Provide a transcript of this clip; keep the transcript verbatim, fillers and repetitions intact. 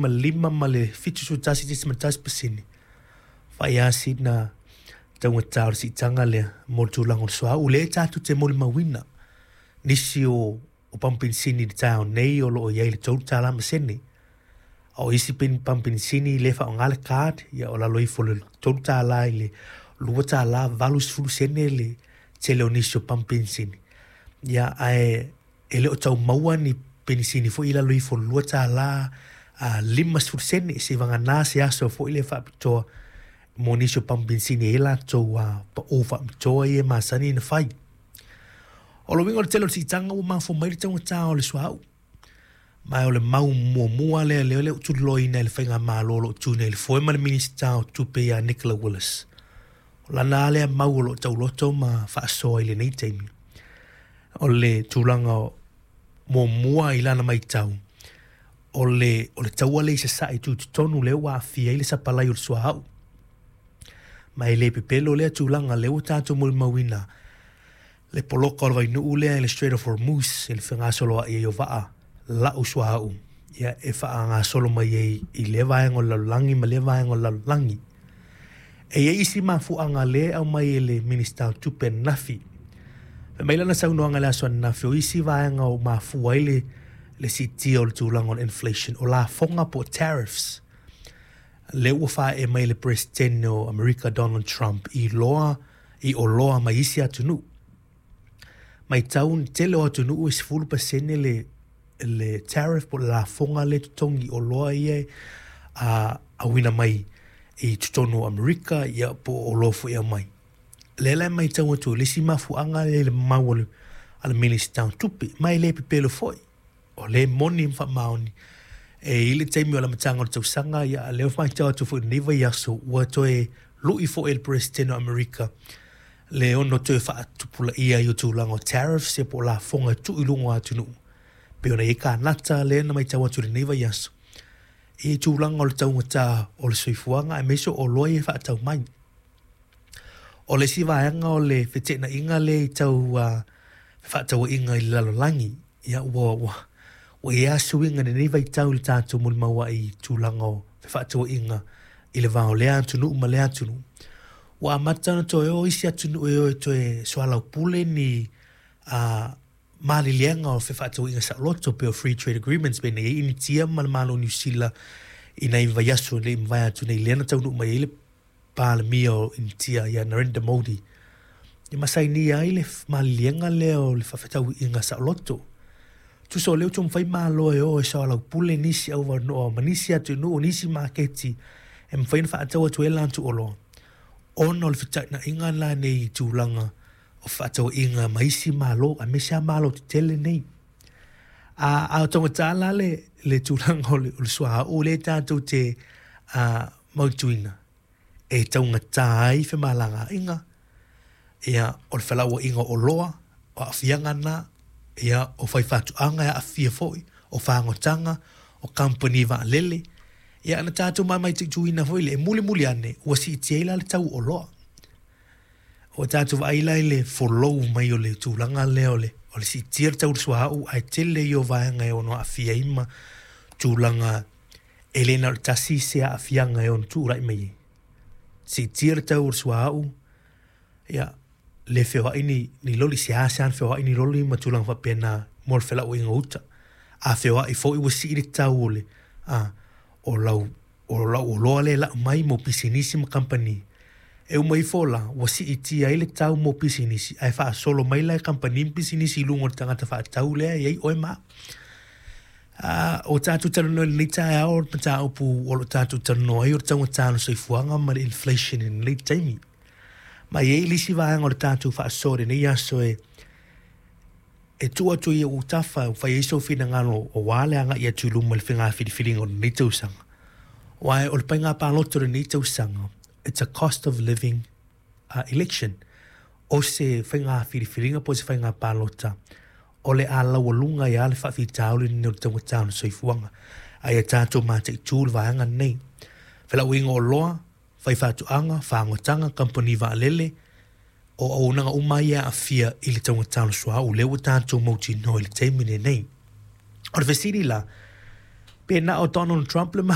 Ma lima ma le fitu sefulu tasi tesima tasi pasene, fai lava sina taugata o le siitaga lea mo le tulaga o le suauu lea tatou te molimauina nisi o o pamu penisini i le taeao nei o loo i ai le tolu tala ma sene, a o isi pamu penisini le faaaoga le card, ia o lalo ifo o le tolu tala i le lua tala valu sefulu sene le tele o nisi o pamu penisini. Ia ae e le o tau maua ni penisini foi i lalo ifo o le lua tala lima sefulu sene, seivagana se aso foi le faapitoa mo nisi o pamu penisini e i ai latou pau faapitoa ia e masani ona fai. O le uiga o le tele o le siitaga ua mafua mai le taugata o le suauu. Ma o le mau muamua lea lea lea ua tuliloaina e le faigamalo o lo o tu nei i le foe ma le Minisita o Tupe ia Nicola Willis. O lana lava lea mau o lo o tauloto ma faasoa i lenei taimi. O le tulaga muamua i lana matau, o le, o le taua lea i sasae tutotonu lea ua aafia ai le sapalai o le suauu. Ma e le pepelo lea tulaga lea ua tatou molimauina le poloka o le vainuu lea i le Strait of Hormuz i le fegasoloai ai o vaa lau suauu, ia e faagasolo mai ai i lea vaega o le lalolagi ma lea vaega o le lalolagi. E i ai isi mafuaaga lea e aumai e le Minisita o Tupe ananafi. Fai mai lana saunoaga i le aso ananafi, o isi vaega o mafua ai le, le siitia o le tulaga o le inflation, o lafoga po o tariffs. Lea ua faaae mai le Peresetene o Amerika Donald Trump i loa i oloa mai isi atunuu. Matau le tele o atunuu e sefulu pasene le, le tariff po o le lafoga lea e totogi i oloa ia a auina mai i totonu o Amerika, ia po o oloa foi e aumai. Lea la e matau atu le isi mafuaaga lea i le mau a le Minisita o Tupe, ma e le pepelo foi. O le moni ma faamaoni e i le taimi o le amataga o le tausaga, ia lea ua faitau atu foi i lenei vaiaso ua toe lui foi e le Peresetene o Amerika le ono toe faatupulaia ai o tulaga o tariffs, ia po o lafoga e tuu i luga o atunuu. Pei ona i ai Kanata lea na matau atu i lenei vaiaso i tulaga o le taugata o le soifuaga aemaise o oloa ia e faatau mai. O le isi vaega o le feteenaiga lea i tau uh, fefaatauaiga i le lalolagi, ia ua, ua, ua i ai lava suiga i lenei vaitau i le tatou molimau ai i tulaga o fefaatauaiga i le va o lea atunuu ma lea atunuu. Ua amata ona toe o isi atunuu e o e toe soalaupule ni uh, maliliega o fefaatauaiga saoloto pei o free trade agreements, pei ona i ai Initia ma le Malo o Niu Sila i nai vaiaso le i mavae atu nei, lea na taunuu mai ai le Palemia o Initia ia Narendra Modi e masainia ai le maliliega lea o le fefaatauaiga saoloto. Tusa o lea ua taumafai Malo e o e soalaupule nisi auavanoa ma nisi atunuu, nisi maketi e mafai ona faatau atu ai latou oloa, ona o le feteenaiga la nei i tulaga o fefaatauaiga ma isi Malo, aemaise lava Malo tetele nei. A, a o taugata la le, le tulaga o le, o le suauu lea tatou te uh, mautuina, e taugata ai femalagaaiga, ia, o le felauaiga o oloa, o aafiaga na, ia, o faifaatoaga e aafia foi, o fagotaga, o kamupani vaalele. Ia na tatou mamaituituina foi le e mulimuli ane, ua siitia ai la le tau o oloa. Ua tatou vaai la i le folou mai o le tulaga lea o le, o le siitia le tau o le suauu, ae tele ia o vaega e ono aafia ai ma tulaga e le na o le tasi se aafiaga e ono tulai mai ai. Siitia le tau o le suauu, ia, le feoai ni, ni loli, seasea ona feoai ni loli ma tulaga faapena mo le felauaiga o uta. A feoai foi ua sii le tau o le, a, o lau, o lau oloa lea e lau mai mo pisinisi ma kamupani. E uma ifo la, ua siitia ai le tau mo pisinisi, ae faasolo mai la e kamupani ma pisinisi i luga o le tagata faatau lea e i ai oe ma au. Uh, o tatou talanoa i lenei taeao, o le mataupu o lo o tatou talanoa ai o le taugata o le soifuaga ma le inflation i lenei taimi. Ma e i ai le isi vaega o le tatou faasoa i lenei aso e e tuu atu i ou autafa e fai ai sou finagalo aua le agai atu i luma i le faiga filifiliga o lenei tausaga. Aua o le faiga palota o lenei tausaga, it's a cost of living uh, election. O se faiga filifiliga po o se faiga palota o le a laualuga ai lava le faafitauli lenei o le taugata o le soifuaga. A ia tatou mataitu le vaega lenei. Felauaiga o oloa, faifaatoaga, fagotaga, kamupani vaalele, o auaunaga uma ia e aafia i le taugata o le suauu lea ua tatou mautinoa i le taimi lenei. O le fesili la, Pe na o Donald Trump le.